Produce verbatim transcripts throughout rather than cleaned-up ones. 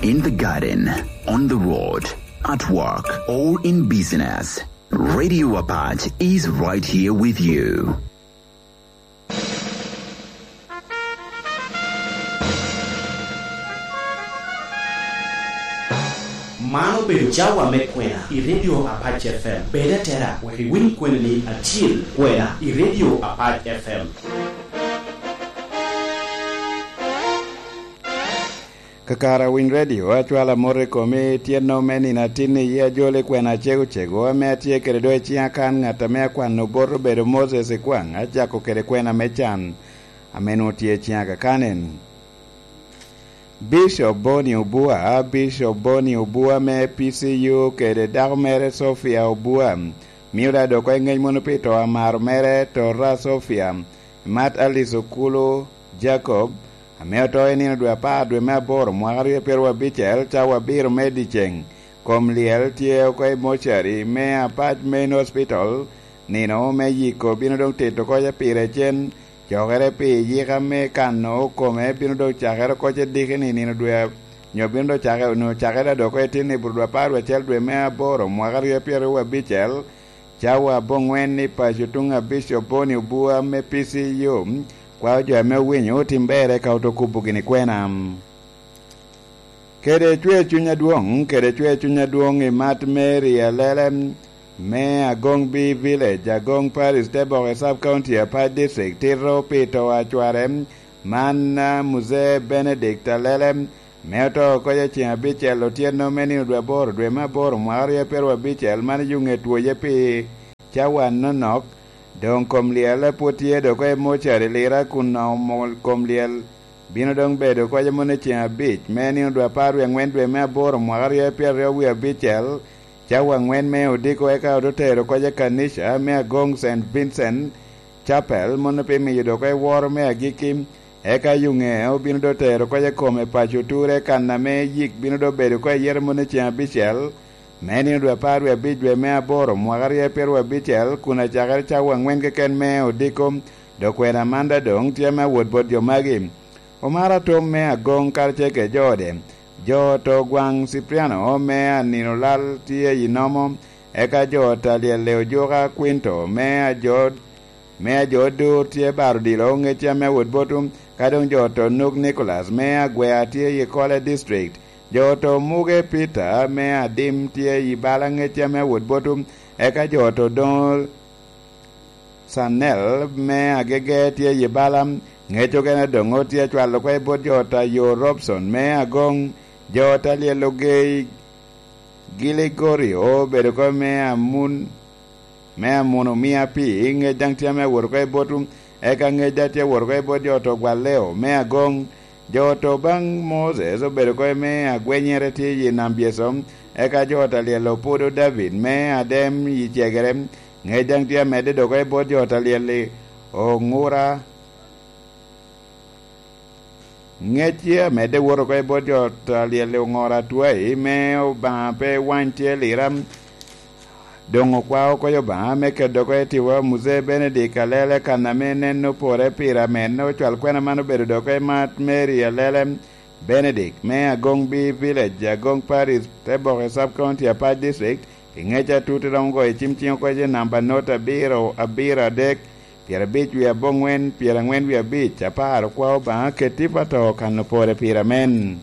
In the garden, on the road, at work, or in business, Radio Apache is right here with you. Man obedo cawa me kwena i Radio Apache F M. Bed atera wek iwiny kwena-ni acil, kwena i Radio Apache F M. Kakare Winy Radio, acwalo amot i komi, tyenno me nino atin i yie ajol i kwena acego cego ame atye kede do i ciŋa kan, ŋat ame akwano bot obedo Moses Ikwaŋ, acako kede kwena me can ame nwoŋo tye i ciŋa kakanen. Bishop Boni Obua, Bishop Boni Obua me P C U kede dako mere Sofia Obua, mio da dok oko i ŋec mono pi to amaro mere, Tora Sofia, Mat Alice Okulu Jacob, ame oto i nino dwe apar dwe me aboro mwaka aryo pyeraryo abicel, cawa abiro me dyeceŋ. Kom lyel tye oko i mocari me Apac Main Hospital, nino me yiko bino doŋ tito oko pire cen. Cokere pi yika me kano kome bino doŋ cakere oko ce diki ni nino dwe a-, nyo bino doŋ cake-, onwoŋo cakere adok oko i tin i bur dwe apar dwe acel dwe me aboro mwaka aryo pyeraryo abicel, cawa aboŋwen i paco tuŋ abic oboni obua me P C U, kwao jo ame owinyo otim ber eka oto kubo gini kwena. Kede cwer cuny adwoŋ, kede cwer cuny adwoŋ i Mat Mary Alele, me Agong B Village, Agong Parish, Teboke Sub County, Apac District, tito pi to a cware, man, a, Muzee Benedict Alele, me oto oko i ceŋ abicel otyeno me nino dwe aboro, dwe me aboro, mwaka aryo pyeraryo abicel, man i yuŋe twoye pi cawa anonok. Doŋ kom lyel pwod tye dok oko i mocari Lira kun omo kom lyel bino doŋ bedo oko mono i ceŋ abic me nino dwe apar wie aŋwen dwe me aboro mwaka aryo pyeraryo wie abicel, cawa aŋwen me odiko, eka ote tero oko i kanica me Agong Saint Vincent Chapel, mono pi miyo dok oko i woro me agikki, eka yuŋe obino doŋ tero oko i kome paco Oture, kan ame yik bino doŋ bedo oko i yere mono i ceŋ abicel, me nino dwe apar wie abic dwe me aboro mwaka aryo pyeraryo abicel, kun acakere cawa aŋwen keken me odiko. Dok kwena man da doŋ tye me awot bot jo magi. Omara tom me Agong karacel kede jo ode, jo oto gwaŋ Cipriano me Aninolal tye i nomo, eka jo ot a lyelle Ojuka Quinto me ajo, me ajo Odur tye baro odilo ŋecca me awot botu, ka doŋ jo oto Nuk Nicholas me Agwea tye i Kole District, jo oto Muge Peter me Adim tye i bala ŋecca me awot botu, eka jo oto Doŋol Sanel me Agege tye i bala. Ŋec okene doŋ tye acwalo oko i bot jo ot a yo Robson me Agong, jo ot a lyel Ogei Giligorio obedo oko me Amun, me Amun omia pi, ŋec daŋ tye ame awot oko i botu, eka ŋec daŋ tye awot oko i bot jo oto Gwaleo me Agong, jo oto baŋ Moses obedo oko me Agwenyere tye i Nam Byeso, eka jo ot a lyel Opudo David me Adem i Cegere, ŋec daŋ tye amedde dok oko i bot jo ot a lyel-li Oŋura. Ŋec tye amedde wot oko i bot jo ot a lyel-li Oŋura Atwai, me Obaŋa pe wany tye Lira. Doŋ okwao oko i Obaŋa me keto oko i tiwa Muzee Benedict Alele, kan ame nen opore pire amen, ocwal kwena man obedo dok oko i Mat Mary Alele Benedict me Agong B Village, Agong Parish, Teboke Sub County, Apac District, i ŋec atut iromo goyo cim ciŋ oko i namba not abiro, abiro adek, pyerabic wie aboŋwen, pyeraŋwen wie abic, apar, okwao Obaŋa keti pa to kan opore pire amen.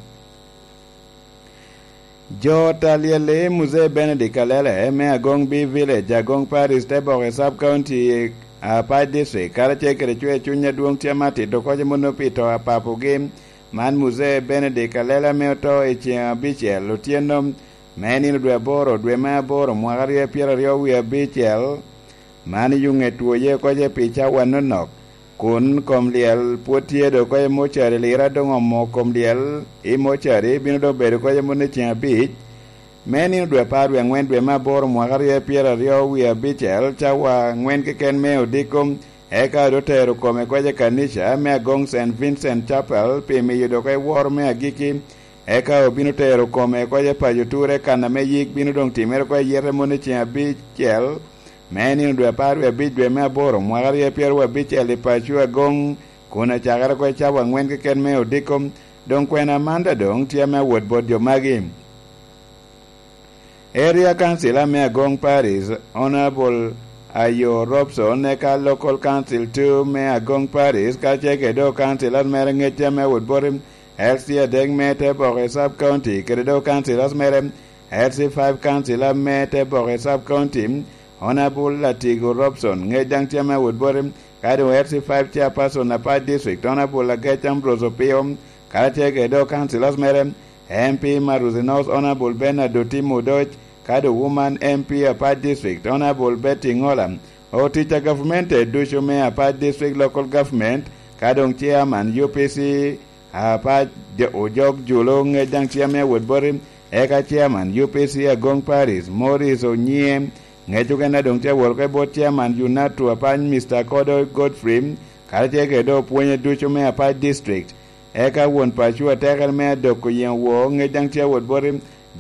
Jo ot a lyel-li Muzee Benedict Alele me Agong B Village, Agong Parish, Teboke Sub County, Apac District, karacel kede cwer cuny adwoŋ tye amatito oko mono pi to a papogi, man Muzee Benedict Alele ame oto i ceŋ abicel otyeno me nino dwe aboro, dwe me aboro, mwaka aryo pyeraryo wie abicel. Man i yuŋe twoye oko ce pi cawa nonok, kun kom lyel pwod tye dok oko i mocari, Lira doŋ omo kom lyel i mocari, bino doŋ bedo oko i moni ceŋ abic me nino dwe apar wie aŋwen dwe me aboro mwaka aryo pyeraryo wie abicel, cawa aŋwen keken me odiko, eka doŋ tero kome oko i kanica me Agong Saint Vincent Chapel pi miyo dok oko i woro me agikki, eka obino tero kome oko i paco Ture, kan ame yik bino doŋ timere oko i yete moni ceŋ abicel, me nino dwe apar wie abic dwe me aboro mwaka aryo pyeraryo abicel i paco Agong, kun acakere oko i cawa aŋwen keken me odiko, Doŋ kwena man daŋ doŋ tye ame awot bot jo magi. Area Council ame Agong Paris, Honorable Ayo Robson, eka Local Council two me Agong Paris, kacel kede doŋ councilors mere ŋec ame awot bot L C adek me Teboke Sub County, kede doŋ councilors mere L C five councilor me Teboke Sub County, Honorable Latigo Robson, ŋec daŋ tye ame awot bot, ka doŋ L C five chairperson Apac District, Honorable Agec Ambrose Opio, karacel kede doŋ councilors mere, M P Maruzi North, Honorable Bernard Otim Odoc, ka doŋ Woman M P Apac District, Honorable Betty Ngola. Otic a gavumenti ducu me Apac District Local Government, ka doŋ Chairman U P C Apac, Ojok Julo, ŋec daŋ tye ame awot bot, eka Chairman U P C Agong Paris, Morris Onyie, ŋec okene doŋ tye awot oko i bot Chairman UNATU Apac, Mister Kodo Godfrey, karacel kede doŋ opwonye ducu me Apac District. Eka won paco atekere me adok oyeŋo woo, ŋec daŋ tye awot bot,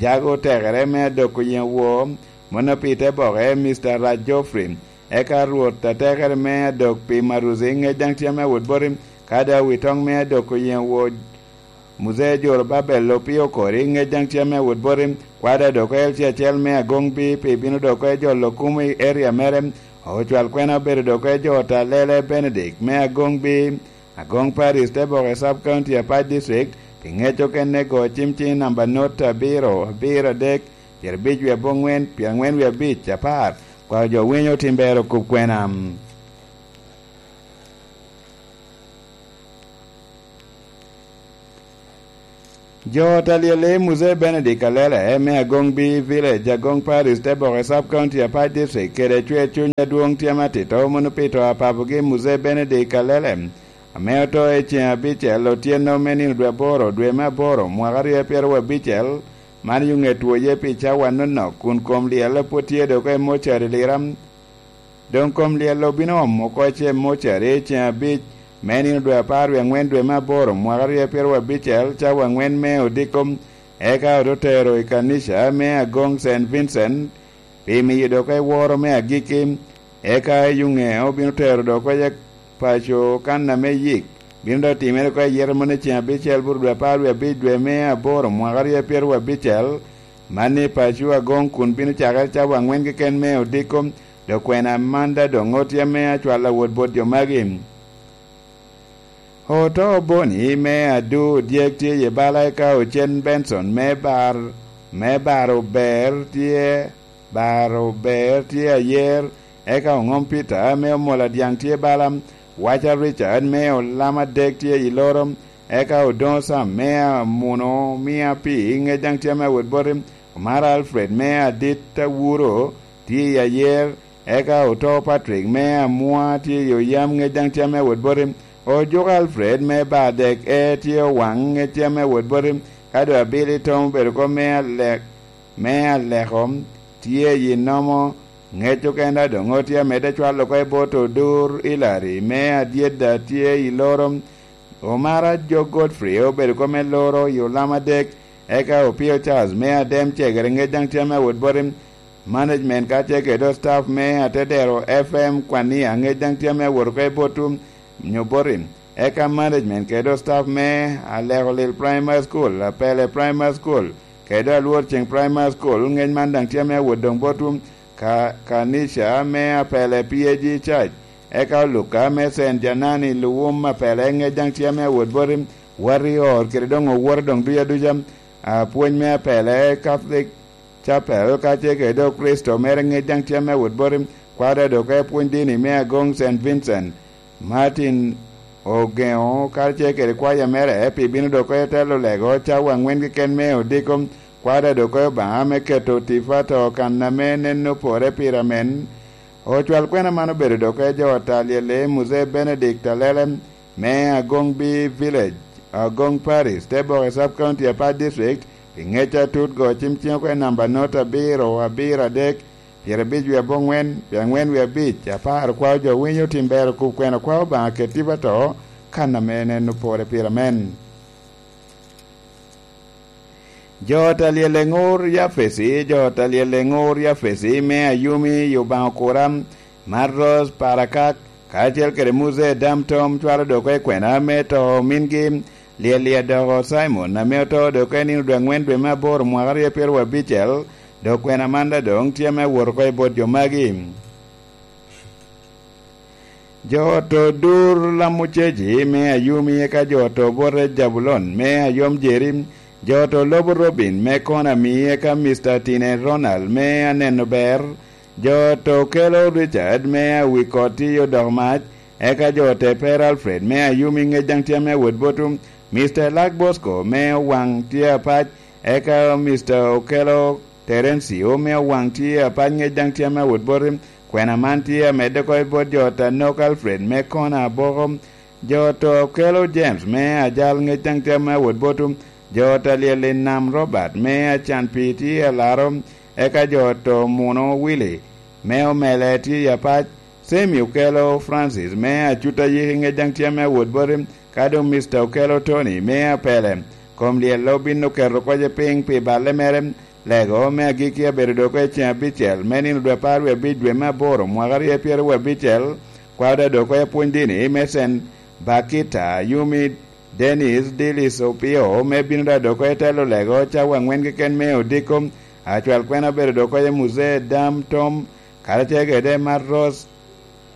jago otekere me adok oyeŋo woo, mano pi Teboke, Mister Rac Geoffrey. Eka Rwot atekere me adok pi Maruzi, ŋec daŋ tye ame awot bot, ka doŋ awitoŋ me adok oyeŋo woo, Muzee Jorobabel Opio Kori, ŋec daŋ tye ame awot bot, kwada dok L C acel me Agong B pi bino dok oko jolo kum i area mere, ocwal kwena obedo dok oko jo Talele Benedict me Agong B, Agong Paris, Teboke Sub County, Apac District, pi ŋec okene go cim cing namba not abiro, abiro adek, pyerabic wie aboŋwen, pyerangwen wie abic, apar, kwao jo winyo tim ber okub kwena. Jo ta lyel i Muzee Benedict Alele me Agong B Village, Agong Parish, Teboke Sub County, Apac District, kede cwer cuny adwoŋ tye matito mono pi to a papogi Muzee Benedict Alele, ame oto i ceŋ abicel otyeno me nino dwe aboro, dwe me aboro, mwaka aryo pyeraryo abicel, man yo ŋet woye pi cawa nonok, kun kom lyel pwod tye dok i mocari Lira. Doŋ kom lyel obino omo oko ce mocari ceŋ abic me nino dwe apar wie aŋwen dwe me aboro mwaka aryo pyeraryo abicel cawa aŋwen me odiko, eka ote tero i kanica me Agong Saint Vincent pi miyo dok eworo me agikki, eka i yuŋe obino tero dok oko i paco kan ame yik bino dok timere oko i yero moni ceŋ abicel bur dwe apar wie abic dwe me aboro mwaka aryo pyeraryo abicel, man i paco Agong kun bino cakere cawa aŋwen keken me odiko. Dok kwena man daŋ doŋ oti ame acwalo awot bot jo magi. Oto Boni me Adu Dyek tye i bala eka Ocen Benson me Bar, me Baro Ber tye, Baro Ber tye ayer, eka Oŋom Peter me Omola Dyaŋ tye bala, Waca Richard me Olama Dek tye i Loro, eka Odoŋo Sam me Amuno Mia Pi ŋec daŋ tye ame awot boti, Omara Alfred me Adit Awuro tye i ayer, eka oto Patrick me Amua tye i oyam ŋec daŋ tye ame awot boti, Ojuko Alfred me Badek e tye owaŋ ŋec tye ame awot boti, ka doŋ Abili Tom obedo kop me Alek, me Aleko tye i nomo ŋec okene a doŋ otye amedde cwalo oko i bot Odur Ilari me Adyedda tye i Loro, Omara Joe Godfrey obedo kop me Loro i olam adek, eka Opio Charles me Adem Cegere ŋec daŋ tye ame awot boti, management ka tye kede staff me Atedero F M Kwania ŋec daŋ tye ame awot oko i bot nyo boti, eka management kede staff me Alekolil Primary School, Apele Primary School, kede Alwor Ceng Primary School ŋec man daŋ tye ame awot doŋ bot ka, kanica me Apele P A G Church, eka Oluka me Saint Janani Luwum Apele ŋec daŋ tye ame awot boti, Warrior kede doŋ owoto doŋ duca duca, apwony me Apele Catholic Chapel ka tye kede doŋ Kricito mere ŋec daŋ tye ame awot boti, kwada doŋ ka epwony dini me Agong Saint Vincent, Martin Ogeŋo ka tye kede kwaya mere pi bino doŋ oko i telo lego cawa aŋwen keken me odiko, kwada doŋ oko i Obaŋa me keto tifa to kan ame nen opore pire amen. Ocwal kwena man obedo doŋ oko i jo ta lyel i Muzee Benedict Alele me Agong B Village, Agong Parish, Teboke Sub County, Apac District, pi ŋec atut go cim cing oko i namba not abiro abiro adek, pyerabic wie aboŋwen, pyeaŋwen wie abic, apar, kwao jo winyo tim ber okub kwena kwao Obaŋa ket tipa to, kan ame en en opore pire amen. Jo ta lyel eŋur Yafesi, jo ta lyel eŋur Yafesi me Ayumi i Obaŋa Okura, Marros Parakak, kacel kede Muzee Dam Tom cwalo doŋ oko i kwena me to omingi, Lyel i adoko Cimon ame oto dok en nino dwe aŋwen dwe me aboro mwaka aryo pyeraryo abicel, dok kwena man daŋ doŋ tye ame wot oko i bot jo magi. Jo oto Dur Lamuceci me Ayumi, eka jo oto Bote Jabulon me Ayom Jeri, jo oto Lobo Robin me Konami, eka Mister Tine Ronald me Aneno Ber, jo oto Kelo Richard me Awikot i Odok Mac, eka jo ote Per Alfred me Ayumi ŋec daŋ tye ame awot botu, Mister Lak Bosco me Owaŋ tye apac, eka Mister Okelo Terencio me Owaŋ tye apac ŋec daŋ tye ame awot boti, kwena man tye amedde oko i bot jo oto Anok Alfred me Kona Aboko, jo oto Okelo James me Ajal ŋec daŋ tye ame awot botu, jo oto Alyel i Nam Robert me Acan Pii tye alaro, eka jo oto Muno Willy me Omele tye i apac, Semi Okelo Francis me Acut Ayiki ŋec daŋ tye ame awot boti, ka doŋ Mister Okelo Tony me Apele. Kom lyel obin oketo koce piny pi balle mere, lego me agikki abedo dok i ceŋ abicel me nino dwe apar wie abic dwe me aboro mwaka aryo pyeraryo abicel, kwao daŋ dok i pwony dini me Saint Bakita Yumi Dennis Dilis Opio me bino daŋ dok i telo lego cawa aŋwen keken me odiko, acwal kwena obedo dok i Muzee Dam Tom, karacel kede Mat Ros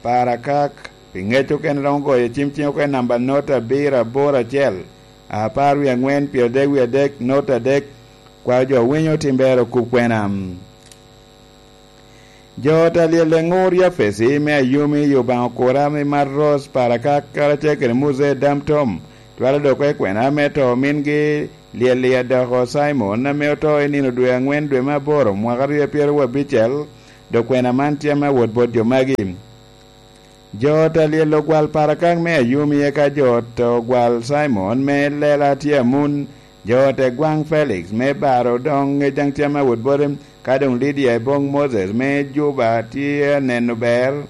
Parakak, pi ŋec okene romo goyo cim cing oko i namba nota abiro aboro acel, apar wie aŋwen, pyeradek wie adek, nota adek, kwao jo winyo tim ber okub kwena. Jo oto Alyel Eŋur Yafesi me Ayumi i Obaŋa Okura me Mat Ros Parakak karacel kede Muzee Dam Tom, twero dok i kwena me to omingi Lyel i Adoko Cimon ame oto i nino dwe aŋwen dwe me aboro mwaka aryo pyeraryo abicel, dok kwena man tye ame awot bot jo magi. Jo oto Alyel Ogwal Parakak me Ayumi, eka jo oto Ogwal Cimon me Lela tye amun, jo oto Egwaŋ Felix me Baro doŋ ŋec daŋ tye ame awot bote, ka doŋ Lidia Ebong Moses me Juba tye aneno ber,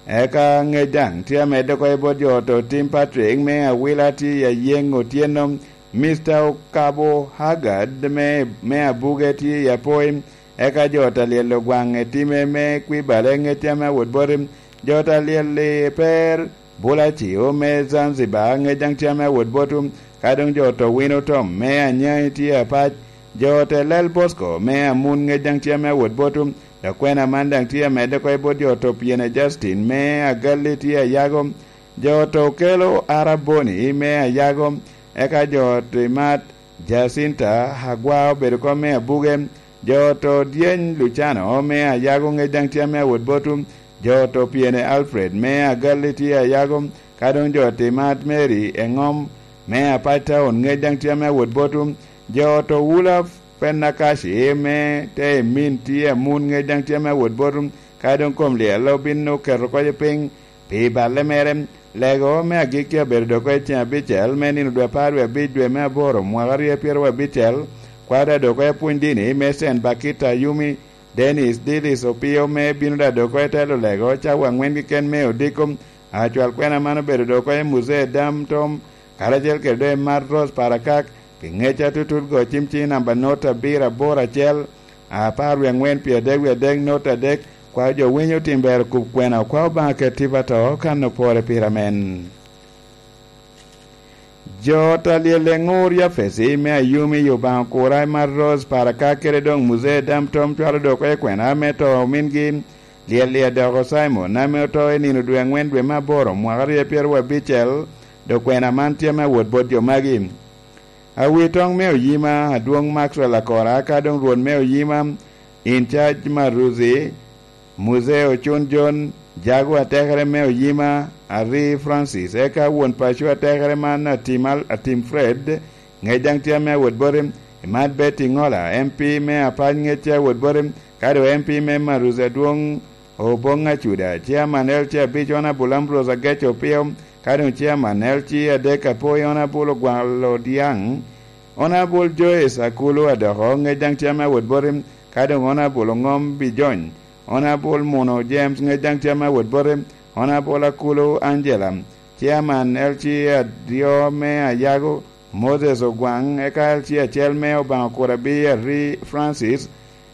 eka ŋec daŋ tye amedde oko i bot jo oto Tim Patrick me Awila tye i Ayeŋ Otyeno, Mister Okabo Haggard me, me Abuge tye i Apoi, eka jo oto Alyel Ogwaŋ i time me Kwibale ŋec tye ame awot bote, jo oto Alyel i Per Bulacio me Zanzibar ŋec daŋ tye ame awot botu, ka doŋ jo oto Wino Tom me Anyai tye apac, jo oto Lel Bosco me Amun ŋec daŋ tye ame awot botu, dok kwena man daŋ tye amedde oko i bot jo oto Pyene Justin me Agalli tye ayago, jo oto Okelo Araboni me ayago, eka jo oto Imat Jacinta Agwa obedo kom me Abuge, jo oto Dyeny Lucano me ayago ŋec daŋ tye ame awot botu, jo oto Pyene Alfred me Agalli tye ayago, ka doŋ jo oto Imat Mary Eŋom me Apac Town ŋec daŋ tye ame awot botu, jo oto Wula Penakaci me Teemin tye amun ŋec daŋ tye ame awot botu, ka doŋ kom lyel obin oketo koce piny pi balle mere. Lego me agikki abedo dok i ceŋ abicel me nino dwe apar wie abic dwe me aboro mwaka aryo pyeraryo abicel, kwada dok i apwony dini me Saint Bakita Yumi Dennis Dilis Opio me bino da dok i telo lego cawa aŋwen keken me odiko. Acwal kwena man obedo dok i Muzee Dam Tom, karacel kede doŋ i Mat Ros Parakak, pi ŋec atutut go cim ciŋ namba not abiro aboro acel, apar wie aŋwen pyeradek wie adek not adek, kwao jo winyo tim ber okub kwena, okwao Obaŋa ket tipo ato kan opore pire amen. Jo ot alyel eŋur Yafesi me Ayumi i Obaŋa okura i Mat Ros Parakak kede doŋ Muzee Dam Tom cwalo dok i kwena me to omingi, lyel i adoko Cimon ame oto i nino dwe aŋwen dwe me aboro mwaka aryo pyeraryo abicel, dok kwena man tye me awot bot jo magi. Awitoŋ me oyima, Adwoŋ Maxwell Akora, ka doŋ Rwot me oyima, in charge Maruzi, Muzee Ocun Jon, jago atekere me oyima, Ari Francis, eka won paco atekere man Atim Al-, Atim Fred, ŋec daŋ tye ame awot bote, Imat Betty Ŋola, M P me Apac ŋec tye awot bote, ka doŋ M P me Maruzi Adwoŋ Oboŋ Acuda, Chairman L C abic Honorable Ambrose Agec Opio, ka doŋ Chairman L C adek Apoi Honorable Ogwal Odiaŋ, Honorable Joyce Akulu Adoko, ŋec daŋ tye ame awot bote, ka doŋ Honorable Oŋom Bijony, Honorable Muno James, ŋec daŋ tye ame awot bote, Honorable Akulu Angela, Chairman L C adyo me Ayago, Moses Ogwaŋ, eka L C acel me Obaŋa Kurabi Ari Francis,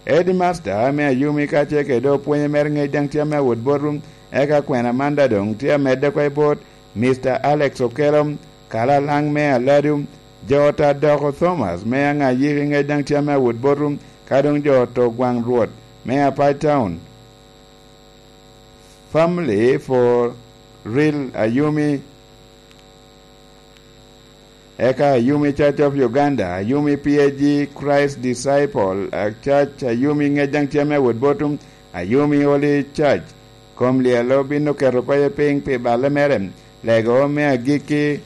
Headmaster me Ayumi kacel kede opwonye mere ŋec daŋ tye ame awot botu, eka kwena man daŋ doŋ tye amedde oko i bot Mister Alex Okello, Kalalaŋ me Aladu, jo ot a Doko Thomas me Aŋayiki ŋec daŋ tye ame awot botu, ka doŋ jo ot Ogwaŋ Rwot me Apac Town, Family for Real Ayumi, eka Ayumi Church of Uganda, Ayumi P A G Christ Disciple, a Church Ayumi ŋec daŋ tye ame awot botu, Ayumi Holy Church, kom lyel obin oketo koye piny pi balle mere. Lego me agikki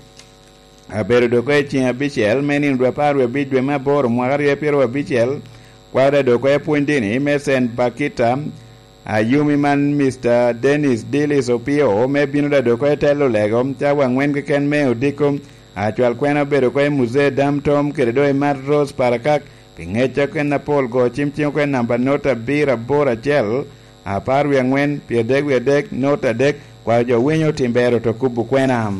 abedo dok i ceŋ abicel me nino dwe apar wie abic dwe me aboro mwaka aryo pyeraryo abicel, kwada dok i pwony dini me Saint Bakita, Ayumi man Mister Dennis Dillis Opio me bino da dok i telo lego cawa angwen keken me odiko. Acwal kwena obedo ko i Muzee Dam Tom kede doŋ i Mat Rose Parakak, pi ŋec a kwena apol go cim cim kwena namba not abiro aboro acel, apar wie angwen, pyeradek wie adek, not adek, kwaro jo winyo tim bero to kubo kwena.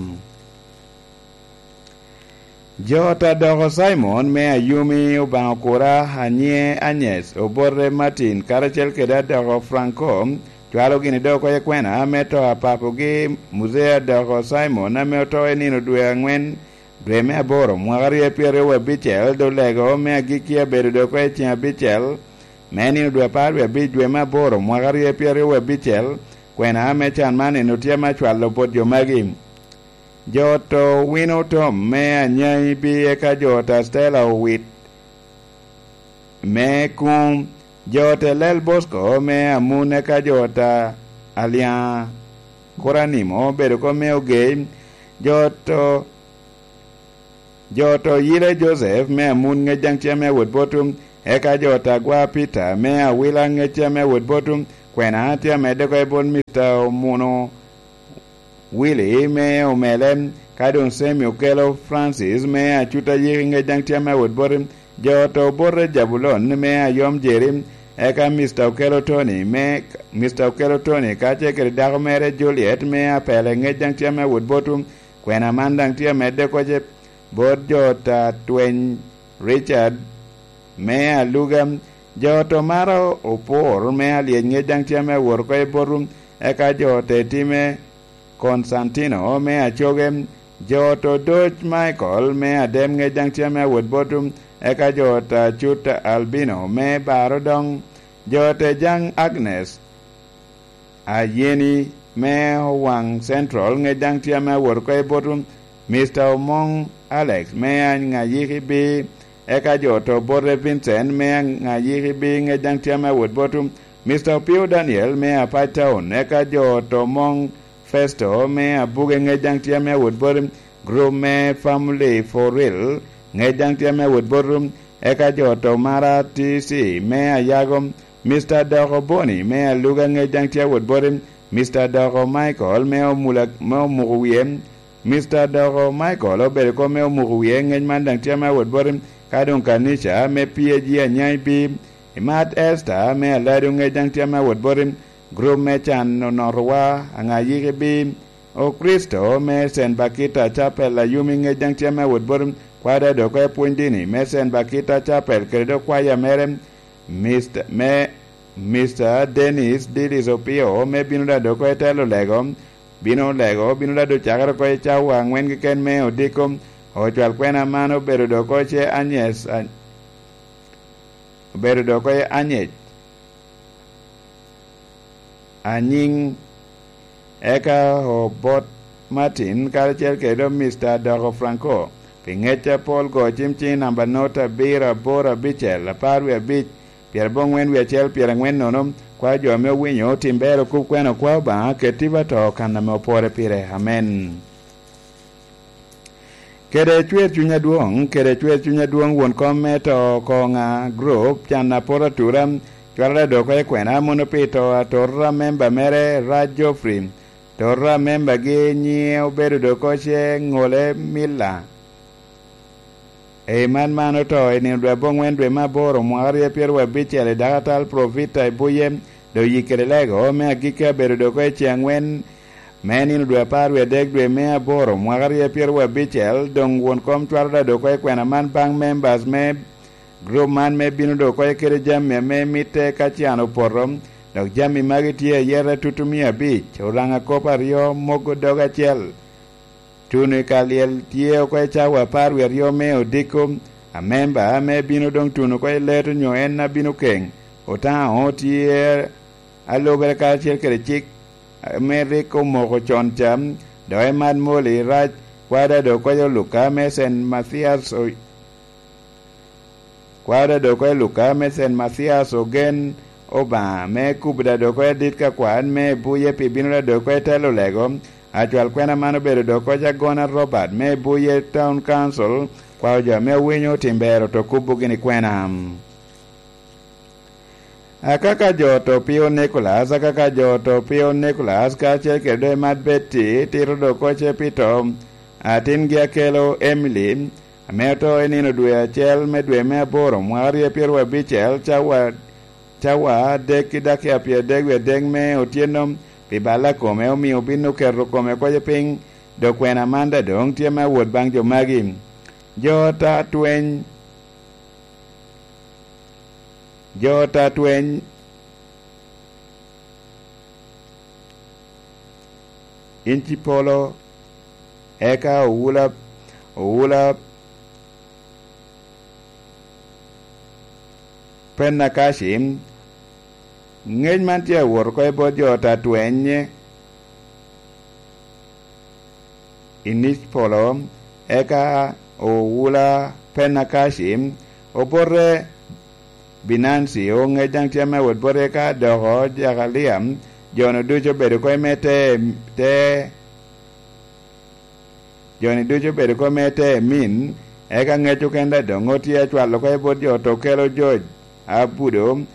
Jo ot a Doko Cimon me Ayumi, Obaŋa Okura, Anyie Anyes, Obote Martin, karacel kede Adoko Franco, cwalo gini dok oko i kwena me to a papogi, Muzee Adoko Cimon, ame oto i nino dwe angwen, dwe me aboro, mwaka aryo pyeraryo abicel, dolego me agikki abedo dok oko i ceŋ abicel, me nino dwe apar wie abic, dwe me aboro, mwaka aryo pyeraryo abicel, kwena me can man eno tye ame acwalo bot jo magi. Jo ot Owino Tom me Anyanyibi, eka jo ot a Stella Owit me Kuŋ, jo ot Elel Bosco me Amun, eka jo ot a Alyaŋa Kuranimo obedo ko me Ogei, jo ot, jo ot Oyile Joseph me Amun ŋec daŋ tye ame awot botu, eka jo ot Agwa Peter me Awila ŋec tye ame awot botu, kwena tye amedde ko i bot Mister Omuno Willy me Omele, ka doŋ Semi Okelo Francis me Acuta Yiki ŋec daŋ tye ame awot boti, jo ot Obote Jabulon me Ayom Jeri, eka Mister Okelo Tony me, Mister Okelo Tony kacel kede dako mere Juliet me Apele ŋec daŋ tye ame awot botu, kwena man daŋ tye amedde koce bot jo ot Atweny Richard me Aluga, jo ot Omaro Opor me Alyec ŋec daŋ tye ame awot oko i botu, eka jo ot Etime Konstantino me Acoge, jo ot Odoc Michael me Adem ŋec daŋ tye ame awot botu, eka jo ot Acut Albino me Baro Doŋ, jo ot Ejaŋ Agnes Ayeni me Owaŋ Central ŋec daŋ tye ame awot oko i botu, Mister Omoŋ Alex me Aŋayiki B, eka jo ot Obote Vincent me Aŋayiki B ŋec daŋ tye ame awot botu, Mister Opio Daniel me Apac Town, eka jo ot Omoŋ Festo me Abuge ŋec daŋ tye ame awot boti, gurup me Family for Real ŋec daŋ tye ame awot boti, eka jo ot Omara T C me Ayago, Mister Doko Boni me Aluga ŋec daŋ tye awot boti, Mister Doko Michael me Omula, me Omuko Wie, Mister Doko Michael obedo kop me Omuko Wie ŋec man daŋ tye ame awot boti, ka doŋ kanica me P A G Anyanyibi, Imat Esther me Aladu ŋec daŋ tye ame awot boti, gurup me can onotowa Aŋayiki B, Okricito me Saint Bakita Chapel Ayumi ŋec daŋ tye ame awot boti, kwada dok oko i pwony dini me Saint Bakita Chapel kede dok kwaya mere, Mister, me Mister Dennis Dillis Opio me bino da dok oko i telo lego, bino lego, bino da dok cakere oko i cawa angwen keken me odiko, ocwal kwena man obedo dok oko ce Anyes, a-, obedo dok oko i Anyec. Anyiŋ, eka Obot Martin karacel kede Mister Doko Franco, pi ŋec apol go cim ciŋ namba not abiro aboro abicel apar wie abic, pyerabongwen wie acel pyerangwen nono, kwa jo ame owinyo otim bero kop kwena okwa Obaŋa ket tipo ato kan ame opore pire. Amen. Kede cwer cuny adwoŋ, kede cwer cuny adwoŋ won kom me to koŋa group can apot atura, cwalo da dok oko i kwena mono pi to atora memba mere Raj Geoffrey, tota membagi nyiŋe obedo dok oko ce Ŋole Milla. Ei man man oto i nino dwe abongwen dwe me aboro mwaka aryo pyeraryo abicel i dakatal Profita i Buye, dok yik kede lego me agikki abedo dok oko i ce angwen me nino dwe apar wie adek dwe me aboro mwaka aryo pyeraryo abicel, doŋ won kom cwalo da dok oko i kwena man baŋ members me group man me bino dok oko kede jami ame mitte ka can opoto, dok jami magi tye ayeta tutu mia abic, oraŋa kop aryo, mogo dog acel, Tuno i ka lyel tye oko i cawa apar wie aryo me odiko, amemba ame bino doŋ tuno oko i leto nyo en a bino keŋ. Otaŋo tye alubere karacel kede cik ame rik omoko con ca, dok emat moli rac. Kwada dok kwayo Luka me Saint Mathias o-, kwada dok kwayo Luka me Saint Mathias ogen Obaŋa me kubo da dok kwayo adit ka kwan me buye pi bino da dok kwayo telo lego. Acwal kwena man obedo dok kwayo agona Robert me buye Town Council, kwao jo ame owinyo tim bero to kubo gini kwena. Akaka jo to Pio Nicholas, akaka jo to Pio Nicholas, kacel kede doŋ Emat Betty, tito dok kocce pi to atingi akelo Emily, ame oto i nino dwe acel me dwe me aboro, mwaka rye pyero abicel, cawa, cawa adek ki dakika pyeradek wie adek me otyeno, pi balla kome, omio obin oketo kome kocce piny, dok kwena man da doŋ tye me awot baŋ jo magi. Jo ta tweny Jo ta tweny in ci polo, eka owula, owula Penakaci, ŋec man tye awot oko i bot jo ta tweny i nic polo, eka owula Penakaci obote Binanci, oŋec daŋ tye me wot bote ka doko Jakalia, jo-nu ducu obedo oko i me te, te, jo-ni ducu obedo oko i me te min, eka ŋec oken daŋ doŋ otye acwalo oko i bot jo to kelo jo abudo,